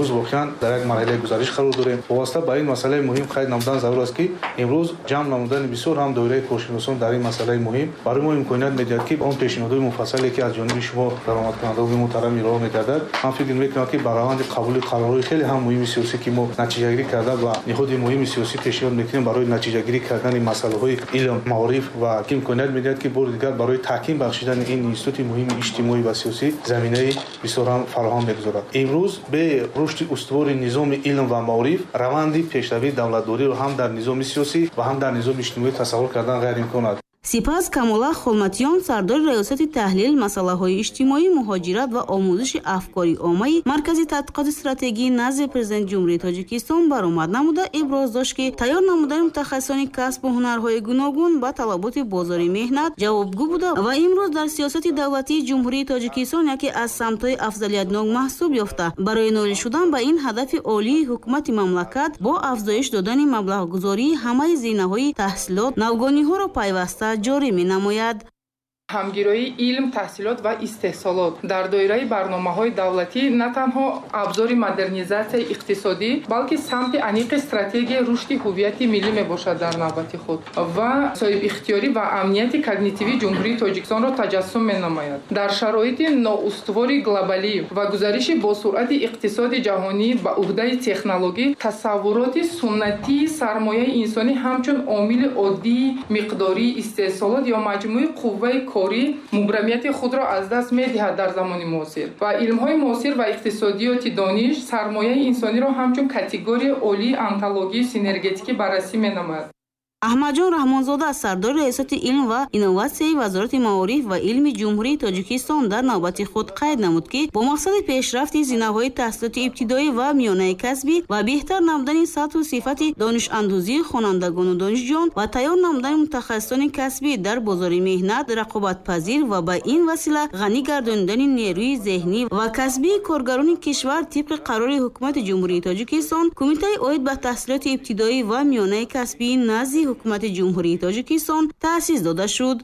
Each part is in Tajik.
Имрӯз воқеан дар як марҳилаи гузариш қарор дорем. Вобаста ба ин масъалаи муҳим қайд намудан зарур аст, ки имрӯз ҷамъ намудани бисёр ҳам доираи коршиносон дар ин масъалаи муҳим барои мо имконият медиҳад, ки он пешниҳодҳои муфассале, ки аз ҷониби шумо даромадкунандагони муҳтарам ироа мегардад, ман фикр мекунам, ки ба раванди қабули қарорҳои хеле ҳам муҳими сиёсӣ, ки мо натиҷагирӣ карда ва ниҳоди муҳими сиёсӣ пешниҳод мекунем барои натиҷагирӣ кардани масъалаҳои илм, маориф ва ки имконият медиҳад, ки бори дигар барои таҳким бахшидани ин институти муҳими иҷтимоӣ ва сиёсӣ заминаи бисёр ҳам фароҳам мегузорад. Имрӯз бе рушди устувори низоми илм ва маориф раванди пешравии давлатдориро ҳам дар низоми сиёсӣ ва ҳам дар низоми иҷтимоӣ тасаввур кардан ғайриимкон аст. Сипас Камола Холматиён, сардори раёсати таҳлил, масъалаҳои иҷтимоӣ, муҳоҷират ва омӯзиши афкори оммаи Маркази тадқиқоти стратегии назди Президенти Ҷумҳурии Тоҷикистон баромад намуда, иброз дошт, ки тайёр намудани мутахассисони касбу ҳунарҳои гуногун ба талаботи бозори меҳнат ҷавобгӯ буда ва имрӯз дар сиёсати давлатии Ҷумҳурии Тоҷикистон яке аз самтҳои афзалиятнок маҳсуб ёфта, барои ноил шудан ба ин ҳадафи олии ҳукумати мамлакат бо афзоиш додани маблағгузории ҳамаи зинаҳои таҳсилот навгониҳоро пайваста ҷорӣ менамояд. Ҳамгироии илм, таҳсилот ва истеҳсолот дар доираи барномаҳои давлатӣ на танҳо абзори модернизатсияи иқтисодӣ, балки самти аниқи стратегияи рушди ҳуввияти миллӣ мебошад дар навбати худ ва соҳибихтиёрӣ ва амнияти когнитивии Ҷумҳурии Тоҷикистонро таҷассум менамояд. Дар шароити ноустувори глобалӣ ва гузариши босуръати иқтисоди ҷаҳонӣ ба уҳдаи технологӣ, тасаввуроти суннатии сармояи инсонӣ ҳамчун омили оддии миқдории истеҳсолот ё маҷмӯи қувваи корӣ мубрамияти худро аз даст медиҳад дар замони муосир ва илмҳои муосир ва иқтисодиёти дониш сармояи инсониро ҳамчун категорияи олии онтологии синергетикӣ баррасӣ менамояд. Аҳмадҷон Раҳмонзода, сардори раёсати илм ва инноватсияи Вазорати маориф ва илми Ҷумҳурии Тоҷикистон, дар навбати худ қайд намуд, ки бо мақсади пешрафти зинаҳои таҳсилоти ибтидоӣ ва миёнаи касбӣ ва беҳтар намудани сатҳу сифати донишандӯзии хонандагону донишҷӯён ва тайёр намудани мутахассисони касбӣ дар бозори меҳнат рақобатпазир ва ба ин васила ғанӣ гардонидани нерӯи зеҳнӣ ва касбии коргарони кишвар, тибқи қарори Ҳукумати Ҷумҳурии Тоҷикистон, Кумитаи оид ба таҳсилоти ибтидоӣ ва миёнаи касбии назди Ҳукумати Ҷумҳурии Тоҷикистон таъсис дода шуд.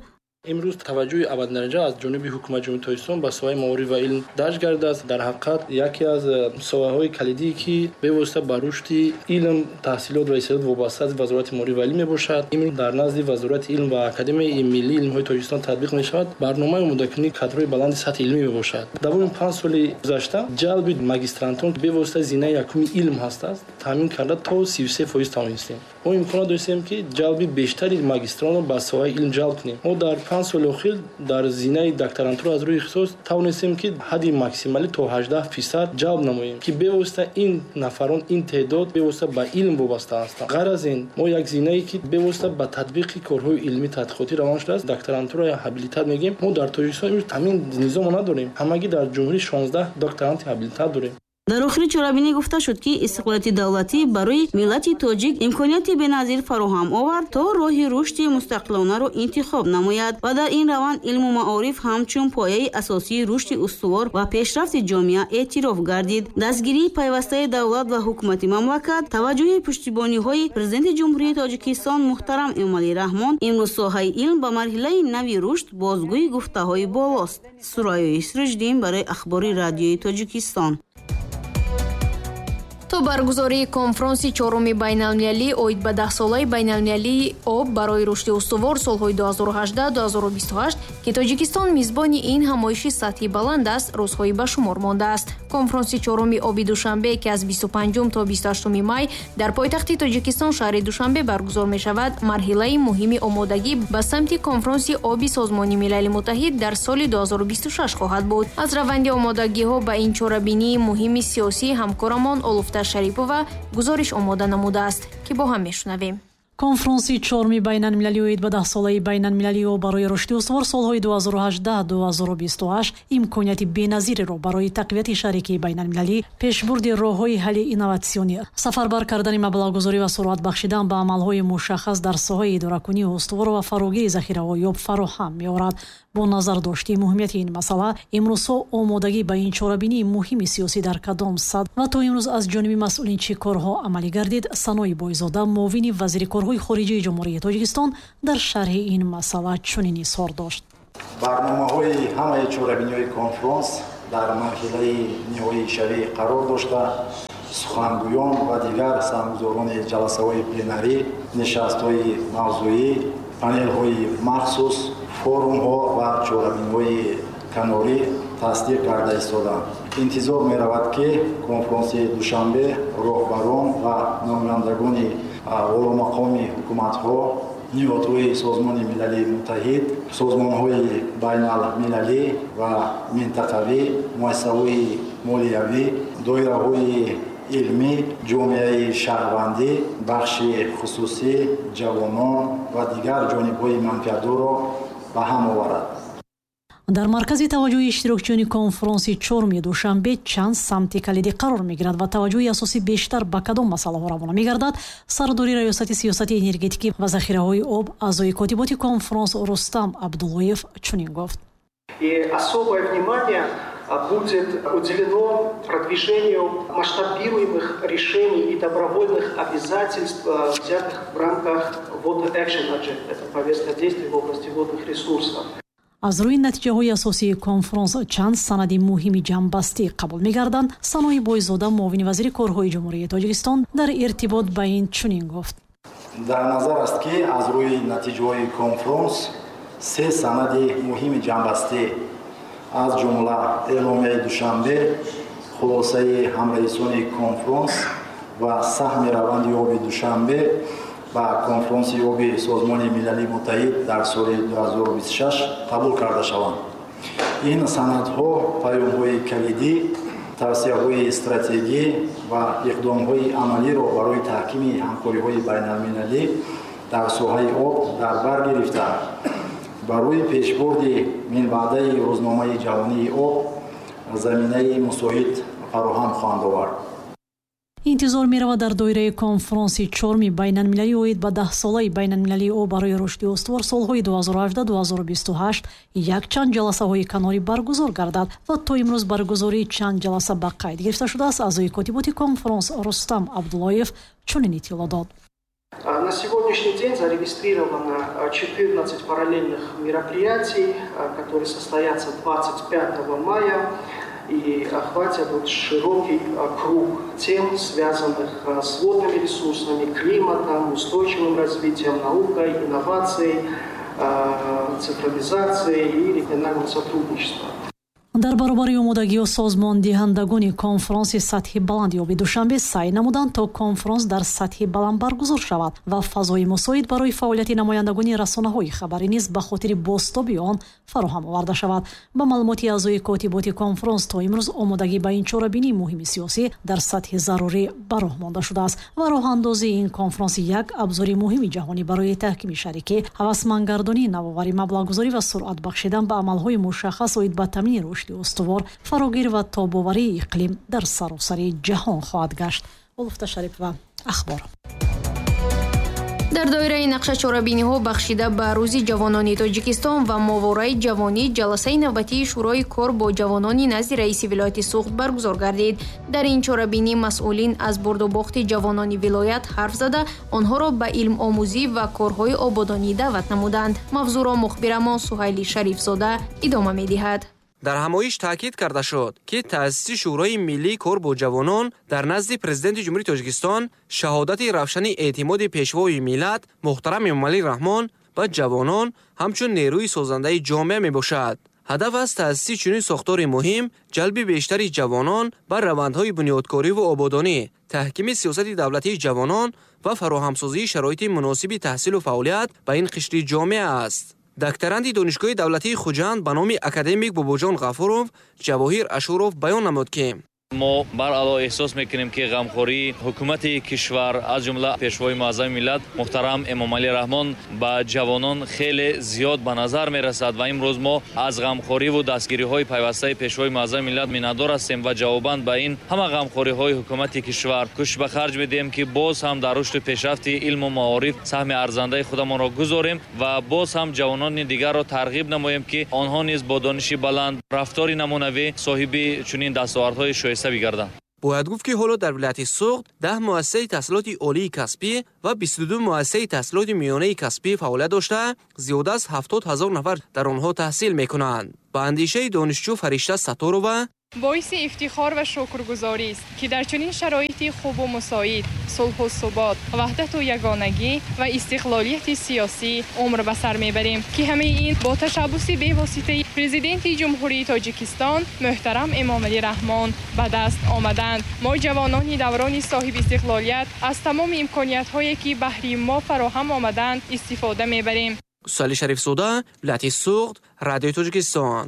Имрӯз таваҷҷӯҳи аввалиндараҷа аз ҷониби ҳукумати Ҷумҳурии Тоҷикистон ба соҳаи маориф ва илм дарҷ гардидааст. Дар ҳақиқат, яке аз соҳаҳои калидие, ки бевосита ба рушди илм, таҳсилот ва истеъдод вобаста аст, Вазорати маориф ва илм мебошад. Имрӯз дар назди Вазорати илм ва Академияи миллии илмҳои Тоҷикистон татбиқ мешавад барномаи омодакунии кадрҳои баланди сатҳи илмӣ мебошад. Давоми 5 соли гузашта ҷалби магистрантон, бевосита зинаи якуми илм ҳастааст, таъмин карда то 33% тавонистем. Мо имконот доштем, ки ҷалби бештари магистронро ба соҳаи илм ҷалб кунем. Мо дар 5 соли охир дар зинаи докторантура аз рӯи ихтисос тавонистем, ки ҳадди максималӣ то 18% ҷалб намоем, ки бевосита ин нафарон, ин теъдод бевосита ба илм вобаста ҳастанд. Ғайр аз ин, мо як зинае, ки бевосита ба татбиқи корҳои илмӣ тадқиқотӣ равон шудааст, докторантура ё ҳабилитат мегӯем. Мо дар Тоҷикистон имрӯз ҳамин низомро надорем. Ҳамагӣ дар ҷумҳурӣ 16 докторанти ҳабилитат дорем. Дар охири чорабинӣ гуфта шуд, ки истиқлолияти давлатӣ барои миллати тоҷик имконияти беназир фароҳам овард, то роҳи рушди мустақилонаро интихоб намояд ва дар ин раванд илму маориф ҳамчун пояи асосии рушди устувор ва пешрафти ҷомеа эътироф гардид. Дастгирии пайвастаи давлат ва ҳукумати мамлакат, таваҷҷӯҳи пуштибониҳои Президенти Ҷумҳурии Тоҷикистон муҳтарам Эмомалӣ Раҳмон имрӯз соҳаи илм ба марҳилаи нави рушд бозгӯи гуфтаҳои болост. Сурайёи Сироҷиддин барои Ахбори Радиои Тоҷикистон. То баргузории конфронси чоруми байналмилалӣ оид ба даҳсолаи байналмилалии об барои рушди устувор солҳои 2018-2028, ки Тоҷикистон мизбони ин ҳамоиши сатҳи баланд аст, рӯзҳои ба шумор мондааст. Конфронси чоруми оби Душанбе, ки аз 25 то 28 май дар пойтахти Тоҷикистон, шаҳри Душанбе, баргузор мешавад, марҳилаи муҳими омодагӣ ба самти конфронси оби Созмони Милали Муттаҳид дар соли 2026 хоҳад буд. Аз раванди омодагиҳо ба ин чорабинии муҳими сиёсӣ ҳамкорамон Олуфта Шарипова гузориш омода намудааст, ки бо ҳам мешунавем. Конфронси чоруми байналмилалӣ оид ба даҳсолаи байналмилалии об барои рушди устувор солҳои 2018-2028 имконияти беназиреро барои тақвияти шарикии байналмилалӣ, пешбурди роҳҳои ҳалли инноватсионӣ, сафарбар кардани маблағгузорӣ ва суръат бахшидан ба амалҳои мушаххас дар соҳаи идоракунии устувор ва фарогири захираҳои об фароҳам меорад. Бо назардошти муҳимияти ин масъала, имрӯзҳо омодагӣ ба ин чорабинии муҳими сиёсӣ дар кадом сатҳ ва то имрӯз аз ҷониби масъулин чӣ корҳо амалӣ гардид, Санои Бойзода, муовини вазири корҳои хориҷии Ҷумҳурии Тоҷикистон, дар шарҳи ин масъала чунин изҳор дошт. Барномаҳои ҳамаи чорабиниҳои конфронс Дар марҳилаи ниҳоишавӣ қарор дошта, сухангӯён ва дигар саҳмгузорони ҷаласаҳои пленарӣ, нишастҳои мавзӯӣ, панелҳои махсус, форумҳо ва чорабиниҳои канорӣ тасдиқ карда истоданд. Интизор меравад, ки конфронси Душанбе роҳбарон ва намояндагони оломақоми ҳукуматҳо, ниҳодҳои Созмони Милалии Муттаҳид, созмонҳои байналмилалӣ ва минтақавӣ, муассисаҳои молиявӣ, доираҳои илмӣ, ҷомеаи шаҳрвандӣ, бахши хусусӣ, ҷавонон ва дигар ҷонибҳои манфиатдорро ба ҳам оварад. Дар маркази таваҷҷӯҳи иштирокчиёни конфронси чоруми Душанбе чанд самти калидӣ қарор мегирад ва таваҷҷӯҳи асосӣ бештар ба кадом масъалаҳо равона мегардад? Сардори Раёсати сиёсати энергетикӣ ва захираҳои об, аъзои котиботи конфронс Рустам Абдуллоев чунин гуфт. И особое внимание будет уделено продвижению масштабируемых решений и добровольных обязательств, взятых в рамках Water Action Agenda, это повестка действий в области водных ресурсов. Аз рӯи натиҷаҳои асосии конфронс чанд санади муҳими ҷамъбастӣ қабул мегарданд. Санои Бойзода, муовини вазири корҳои Ҷумҳурии Тоҷикистон, дар иртибот ба ин чунин гуфт. Дар назар аст, ки аз рӯи натиҷаҳои конфронс се санади муҳими ҷамъбастӣ, аз ҷумла Эъломияи Душанбе, хулосаи ҳамраисони конфронс ва саҳми раванди оби Душанбе ба конфронси оби Созмони Милалии Муттаҳид дар соли 2026 қабул карда шаванд. Ин санадҳо паёмҳои калидӣ, тавсияҳои стратегӣ ва иқдомҳои амалиро барои таҳкими ҳамкориҳои байналмилалӣ дар соҳаи об дар бар гирифта, барои пешбурди минбаъдаи рӯзномаи ҷаҳонии об заминаи мусоид фароҳам хоҳанд овард. Интизор меравад, дар доираи конфронси чоруми байналмилалӣ оид ба даҳсолаи байналмилалии об барои рушди устувор солҳои 2018-2028 якчанд ҷаласаҳои канорӣ баргузор гардад ва то имрӯз баргузории чанд ҷаласа ба қайд гирифта шудааст. Аъзои котиботи конфронс Рустам Абдуллоев чунин иттилоъ дод. На сегодняшний день зарегистрировано 14 параллельных мероприятий, которые состоятся 25 мая и охватят вот широкий круг тем, связанных с водными ресурсами, климатом, устойчивым развитием, наукой, инновацией, цифровизацией и региональным сотрудничеством. Дар баробари омодагию созмондиҳандагони конфронси сатҳи баланди оби Душанбе саъй намуданд, то конфронс дар сатҳи баланд баргузор шавад ва фазои мусоид барои фаъолияти намояндагони расонаҳои хабарӣ низ ба хотири бозтоби он фароҳам оварда шавад. Ба маълумоти аъзои котиботи конфронс, то имрӯз омодагӣ ба ин чорабинии муҳими сиёсӣ дар сатҳи зарурӣ ба роҳ монда шудааст ва роҳандозии ин конфронс як абзори муҳими ҷаҳонӣ барои таҳкими шарикӣ, ҳавасмандгардонии навоварӣ, маблағгузорӣ ва суръат бахшидан ба амалҳои мушаххас оид ба таъмини рушди устувор, фарогир ва тобоварии иқлим дар саросари ҷаҳон хоҳад гашт. Улуфта Шарипова, Ахбор. Дар доираи нақша чорабиниҳо бахшида ба Рӯзи ҷавонони Тоҷикистон ва мовораи ҷавонӣ ҷаласаи навбатии Шӯрои кор бо ҷавонони назди раиси вилояти Суғд баргузор гардид. Дар ин чорабинӣ масъулин аз бурдубохти ҷавонони вилоят ҳарф зада, онҳоро ба илмомӯзӣ ва корҳои ободонӣ даъват намуданд. Мавзӯъро мухбирамон Суҳайли Шарифзода идома медиҳад. Дар ҳамоиш таъкид карда шуд, ки таъсиси Шӯрои миллии кор бо ҷавонон дар назди Президенти Ҷумҳурии Тоҷикистон шаҳодати равшани эътимоди Пешвои миллат муҳтарам Эмомалӣ Раҳмон ба ҷавонон ҳамчун нерӯи созандаи ҷомеа мебошад. Ҳадаф аз таъсиси чунин сохтори муҳим ҷалби бештари ҷавонон ба равандҳои бунёдкориву ободонӣ, таҳкими сиёсати давлатии ҷавонон ва фароҳамсозии шароити муносиби таҳсилу фаъолият ба ин қишри ҷомеа аст. Докторанти Донишгоҳи давлатии Хуҷанд ба номи академик Бобоҷон Ғафуров Ҷавоҳир Ашуров баён намуд, ки Мо баръало эҳсос мекунем, ки ғамхории ҳукумати кишвар, аз ҷумла Пешвои муаззами миллат муҳтарам Эмомалӣ Раҳмон, ба ҷавонон хеле зиёд ба назар мерасад ва имрӯз мо аз ғамхориву дастгириҳои пайвастаи Пешвои муаззами миллат миннатдор ҳастем ва ҷавобан ба ин ҳама ғамхориҳои ҳукумати кишвар кӯшиш ба харҷ медиҳем, ки боз ҳам дар рушду пешрафти илму маориф саҳми арзандаи худамонро гузорем ва боз ҳам ҷавонони дигарро тарғиб намоем, ки онҳо низ бо дониши баланд, рафтори намунавӣ соҳиби чунин дастовардҳои шоиста бигарданд. Бояд гуфт, ки ҳоло дар вилояти Суғд 10 муассисаи таҳсилоти олии касбӣ ва 22 муассисаи таҳсилоти миёнаи касбӣ фаъолият дошта, зиёда аз 70 000 нафар дар онҳо таҳсил мекунанд. Ба андешаи донишҷӯ Фаришта Сатторова, Боиси ифтихор ва шукргузорист, ки дар чунин шароити хубу мусоид, сулҳу субот, ваҳдату ягонагӣ ва истиқлолияти сиёсӣ умр ба сар мебарем, ки ҳамаи ин бо ташаббуси бевоситаи Президенти Ҷумҳурии Тоҷикистон муҳтарам Эмомалӣ Раҳмон ба даст омаданд. Мо, ҷавонони даврони соҳибистиқлолият, аз тамоми имкониятҳое, ки баҳри мо фароҳам омаданд, истифода мебарем. Суали Шарифзода, вилояти Суғд, Радиои Тоҷикистон.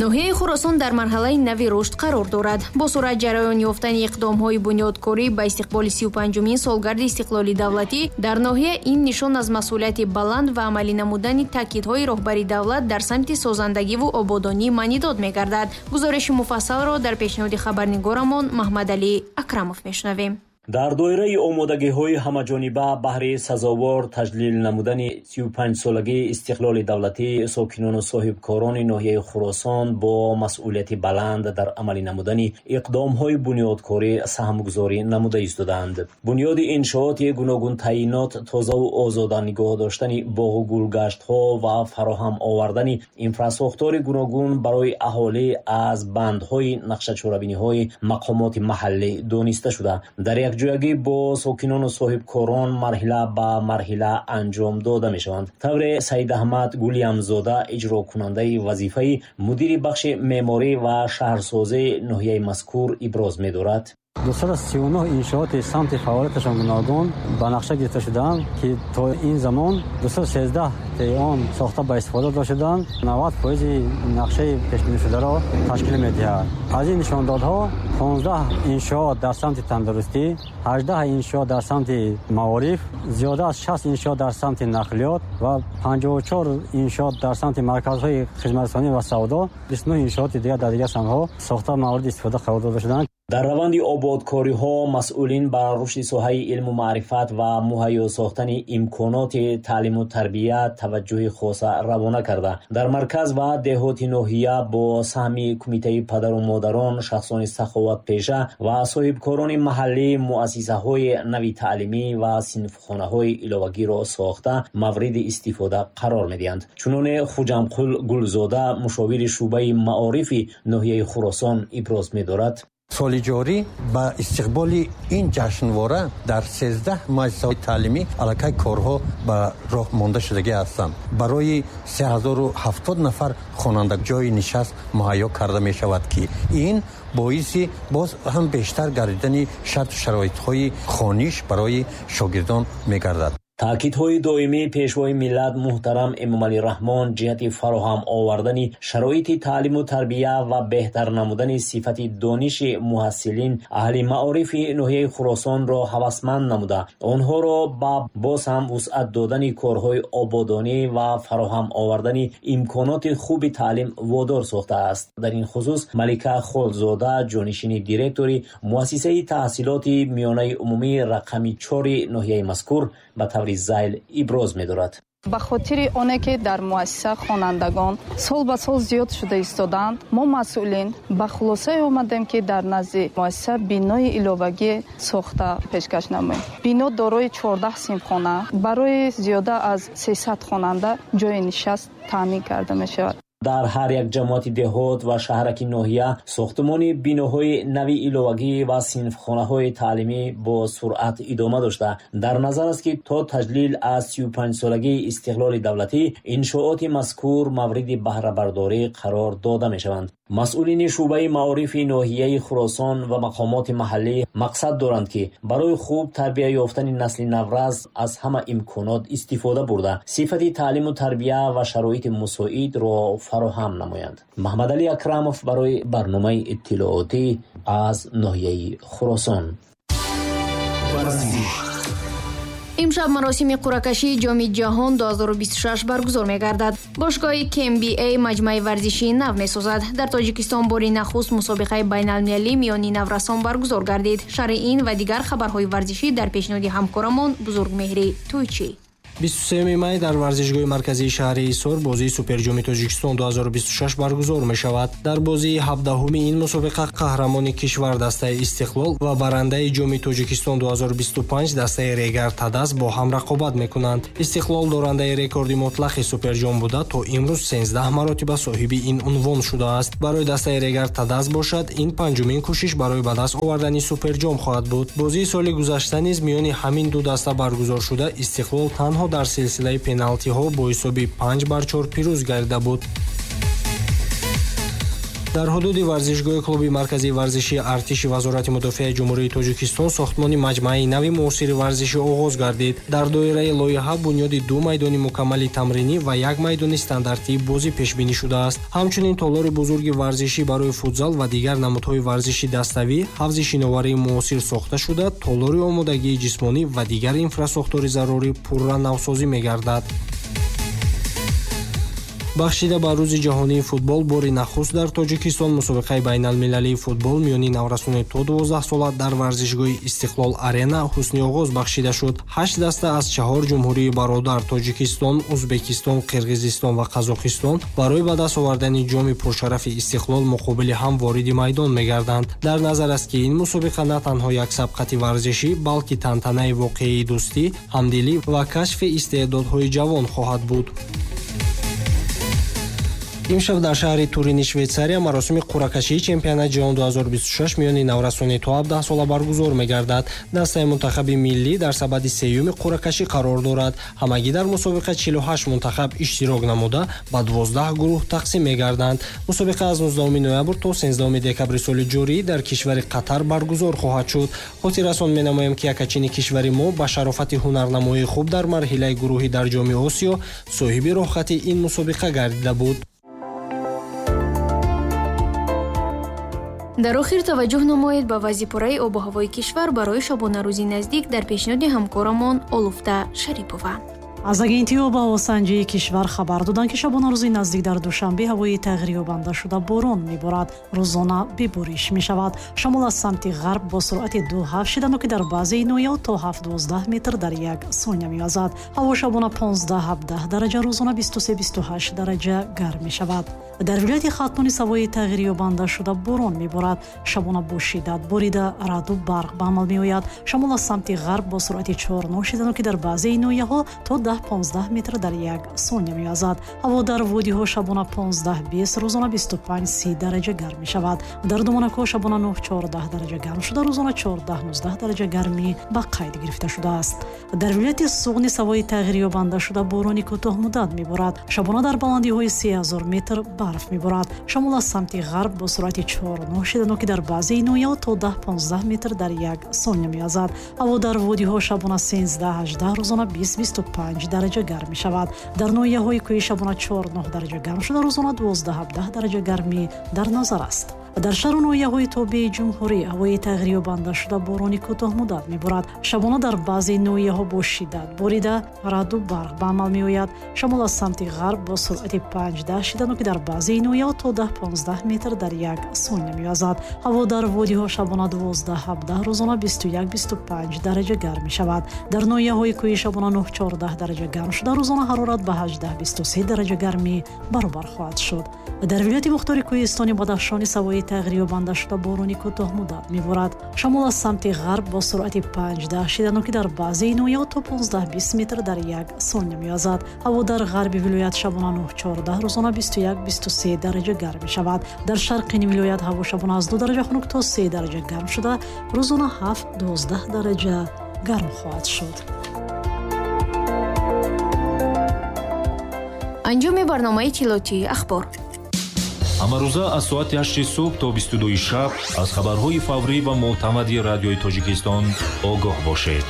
Ноҳияи Хуросон дар марҳалаи нави рушд қарор дорад. Бо суръат ҷараён ёфтани иқдомҳои бунёдкорӣ ба истиқболи 35-умин солгарди истиқлоли давлатӣ дар ноҳия ин нишон аз масъулияти баланд ва амалӣ намудани таъкидҳои роҳбари давлат дар самти созандагиву ободонӣ маънидод мегардад. Гузориши муфассалро дар пешниҳоди хабарнигорамон Маҳмадалӣ Акрамов мешунавем. Дар доираи омодагиҳои ҳамаҷониба баҳри сазовор таҷлил намудани 35-солагии истиқлоли давлатӣ, сокинону соҳибкорони ноҳияи Хуросон бо масъулияти баланд дар амалӣ намудани иқдомҳои бунёдкорӣ саҳмгузорӣ намуда истодаанд. Бунёди иншооти гуногунтаъйинот, тозаву озода нигоҳ доштани боғу гулгаштҳо ва фароҳам овардани инфрасохтори гуногун барои аҳолӣ аз бандҳои нақшачорабиниҳои мақомоти маҳаллӣ дониста шуда, дар якҷоягӣ бо сокинону соҳибкорон марҳила ба марҳила анҷом дода мешаванд. Тавре Саидаҳмад Гулиямзода, иҷрокунандаи вазифаи мудири бахши меъморӣ ва шаҳрсозии ноҳияи мазкур, иброз медорад: 239 иншооти самти фаъолияташон гуногун ба нақша гирифта шудаанд, ки то ин замон 213 он сохта ба истифода дода шуданд, 90% нақшаи пешбинишударо ташкил медиҳад. Аз ин нишондодҳо 15 иншоот дар самти тандурустӣ, 18 иншоот дар самти маориф, зиёда аз 60 иншоот дар самти нақлиёт ва 54 иншоот дар самти марказҳои хизматрасонӣ ва савдо, 29 иншооти дигар дар дигар самтҳо сохта мавриди истифода қарор дода шуданд. Дар раванди ободкориҳо масъулин ба рушди соҳаи илму маърифат ва муҳайё сохтани имконоти таълиму тарбия таваҷҷӯҳи хоса равона карда, дар марказ ва деҳоти ноҳия бо саҳми кумитаи падару модарон, шахсони саховатпеша ва соҳибкорони маҳаллӣ муассисаҳои нави таълимӣ ва синфхонаҳои иловагиро сохта мавриди истифода қарор медиҳанд. Чуноне Хуҷамқул Гулзода, мушовири шӯъбаи маорифи ноҳияи Хуросон, иброз медорад: Соли ҷорӣ ба истиқболи ин ҷашнвора дар 13 муассисаҳои таълимӣ аллакай корҳо ба роҳ монда шудагӣ ҳастанд. Барои 3070 нафар хонанда ҷойи нишаст муҳайё карда мешавад, ки ин боиси боз ҳам бештар гардидани шарту шароитҳои хониш барои шогирдон мегардад. Таъкидҳои доимии Пешвои миллат муҳтарам Эмомалӣ Раҳмон ҷиҳати фароҳам овардани шароити таълиму тарбия ва беҳтар намудани сифати дониши муҳассилин аҳли маорифи ноҳияи Хуросонро ҳавасманд намуда, онҳоро ба боз ҳам вусъат додани корҳои ободонӣ ва фароҳам овардани имконоти хуби таълим водор сохтааст. Дар ин хусус Малика Холзода, ҷонишини директори муассисаи таҳсилоти миёнаи умумӣ рақами 4 ноҳияи мазкур, ба таври зайл иброз медорад: Ба хотири оне ки дар муассиса хонандагон сол ба сол зиёд шуда истодаанд, мо, масъулин, ба хулосае омадем, ки дар назди муассиса бинои иловагӣ сохта пешкаш намоем. Бино дорои 14 синфхона, барои зиёда аз 300 хонанда ҷойи нишаст таъмин карда мешавад. Дар ҳар як ҷамоати деҳот ва шаҳраки ноҳия сохтмони биноҳои нави иловагӣ ва синфхонаҳои таълимӣ бо суръат идома дошта, дар назар аст, ки то таҷлил аз 35-солагии истиқлоли давлатӣ иншооти мазкур мавриди баҳрабардорӣ қарор дода мешаванд. Масъулини шӯъбаи маорифи ноҳияи Хуросон ва мақомоти маҳаллӣ мақсад доранд, ки барои хуб тарбия ёфтани насли наврас аз ҳама имконот истифода бурда, сифати таълиму тарбия ва шароити мусоидро фароҳам намоянд. Маҳмадалӣ Акрамов барои барномаи иттилоотӣ аз ноҳияи Хуросон. Варзиш. Имшаб маросими қуръакашии Ҷоми ҷаҳон 2026 баргузор мегардад. Бошгоҳи КМБА маҷмӯаи варзишии нав месозад. Дар Тоҷикистон бори нахуст мусобиқаи байналмилалӣ миёни наврасон баргузор гардид. Шарҳи ин ва дигар хабарҳои варзишӣ дар пешниҳоди ҳамкорамон Бузургмеҳрӣ Тӯйчӣ. 23 май дар варзишгоҳи марказии шаҳри Ҳисор бозии Суперҷоми Тоҷикистон 2026 баргузор мешавад. Дар бозии 17-уми ин мусобиқа қаҳрамони кишвар дастаи Истиқлол ва барандаи Ҷоми Тоҷикистон 2025 дастаи Регар Тадаз бо ҳам рақобат мекунанд. Истиқлол дорандаи рекорди мутлақи Суперҷом буда, то имрӯз 13 маротиба соҳиби ин унвон шудааст. Барои дастаи Регар Тадаз бошад, ин панҷумин кӯшиш барои ба даст овардани Суперҷом хоҳад буд. Бозии соли гузашта низ миёни ҳамин ду даста баргузор шуда, Истиқлол танҳо дар силсилаи пеналтиҳо бо ҳисоби 5-4 пирӯз гардида буд. Дар ҳудуди варзишгоҳи клуби марказии варзишии артиши Вазорати мудофиаи Ҷумҳурии Тоҷикистон сохтмони маҷмӯаи нави муосири варзишӣ оғоз гардид. Дар доираи лоиҳа бунёди 2 майдони мукаммали тамринӣ ва 1 майдони стандартии бозӣ пешбинӣ шудааст. Ҳамчунин толори бузурги варзишӣ барои футзал ва дигар намудҳои варзиши даставӣ, ҳавзи шиноварии муосир сохта шуда, толори омодагии ҷисмонӣ ва дигар инфрасохтори зарурӣ пурра навсозӣ мегардад. Бахшида ба Рӯзи ҷаҳонии футбол бори нахуст дар Тоҷикистон мусобиқаи байналмилалии футбол миёни наврасони то 12 сола дар варзишгоҳи Истиқлол Арена ҳусни оғоз бахшида шуд. 8 даста аз 4 ҷумҳурии бародар Тоҷикистон, Узбекистон, Қирғизистон ва Қазоқистон барои ба даст овардани ҷоми пуршарафи Истиқлол муқобили ҳам вориди майдон мегарданд. Дар назар аст, ки ин мусобиқа на танҳо як сабқати варзишӣ, балки тантанаи воқеии дӯстӣ, ҳамдилӣ ва кашфи истеъдодҳои ҷавон хоҳад буд. Имшаб дар шаҳри Турини Швейтсария маросими қуръакашии чемпионати ҷаҳон 2026 миёни наврасони то 17 сола баргузор мегардад. Дастаи мунтахаби миллӣ дар сабади сеюми қуръакашӣ қарор дорад. Ҳамагӣ дар мусобиқа 48 мунтахаб иштирок намуда, ба 12 гурӯҳ тақсим мегарданд. Мусобиқа аз 19 ноябр то 13 декабри соли ҷорӣ дар кишвари Қатар баргузор хоҳад шуд. Хотиррасон менамоем, ки якачини кишвари мо ба шарофати ҳунарнамоии хуб дар марҳилаи гурӯҳӣ дар Ҷоми Осиё соҳиби роҳхати ин мусобиқа гардида буд. Дар охир таваҷҷӯҳ намоед ба вазъи пурраи обу ҳавои кишвар барои шабонарӯзи наздик дар пешниҳоди ҳамкорамон Олуфта Шарипова. Аз агентии обҳавосанҷии кишвар хабар доданд, ки шабонарӯзи наздик дар Душанбе ҳавои тағйирёбанда шуда борон меборад. Рӯзона бебориш мешавад. Шамол аз самти ғарб бо суръати 2,7 шиданоки дар баъзеи ноҳияҳо то 7,12 метр дар як сония мевазад. Ҳаво шабона 15-17 дараҷа, рӯзона 23-28 дараҷа гарм мешавад. Дар вилояти Хатлон ҳавои тағйирёбанда шуда борон меборад. Шабона бо шиддат борида, раъду барқ ба амал меояд. Шамол аз самти ғарб бо суръати 4,9 шиданоки дар баъзеи ноҳияҳо то 10-15 метр дар як сония мевазад. Ҳаво дар водиҳо шабона 15-20, рӯзона 25-30 дараҷа гарм мешавад. Дар доманакҳо шабона 9-14 дараҷа гарм шуда, рӯзона 14-19 дараҷа гармӣ ба қайд гирифта шудааст. Дар вилояти Суғд ҳавои тағйирёбанда шуда борони кӯтоҳмуддат меборад. Шабона дар баландиҳои 3000 метр барф меборад. Шамол аз самти ғарб бо суръати 4,9 шиданоки дар баъзеи ноҳияҳо то 10-15 метр дар як сония мевазад. Ҳаво дар водиҳо шабона 13-18, рӯзона 20-25 дараҷа гарм мешавад. Дар ноҳияҳои кӯҳӣ шабона 4,9 дараҷа гарм шуда, рӯзона 12-17 дараҷа гармӣ дар назар аст. Дар шаҳру ноҳияҳои тобеи ҷумҳурӣ ҳавои тағйирёбанда шуда борони кӯтоҳмуддат меборад. Шабона дар баъзе ноҳияҳо бо шиддат борида, раъду барқ ба амал меояд. Шамол аз самти ғарб бо суръати 5,10 шиданоки дар баъзе ноҳияҳо то 10-15 метр дар як сония мевазад. Ҳаво дар водиҳо шабона 12-17, рӯзона 21-25 дараҷа гарм мешавад. Дар ноҳияҳои кӯҳӣ шабона 9-14 дараҷа гарм шуда, рӯзона ҳарорат ба 18-23 дараҷа гармӣ баробар хоҳад шуд. Дар вилояти мухтори кӯҳистони Бадахшон ҳавои тағйирёбанда шуда борони кӯтоҳмуддат меборад. Шамол аз самти ғарб бо суръати 5,10 шиданоки дар баъзеи ноҳияҳо то 15-20 метр дар як сония мевазад. Ҳаво дар ғарби вилоят шабона 9-14, рӯзона 21-23 дараҷа гарм мешавад. Дар шарқи вилоят ҳаво шабона аз 2 дараҷа хунук то 3 дараҷа гарм шуда, рӯзона 7-12 дараҷа гарм хоҳад шуд. Анҷоми барномаи иттилоотии ахбор. Ҳамарӯза аз соати 8 субҳ то 22 шаб аз хабарҳои фаврӣ ва мӯътамади радиои Тоҷикистон огоҳ бошед.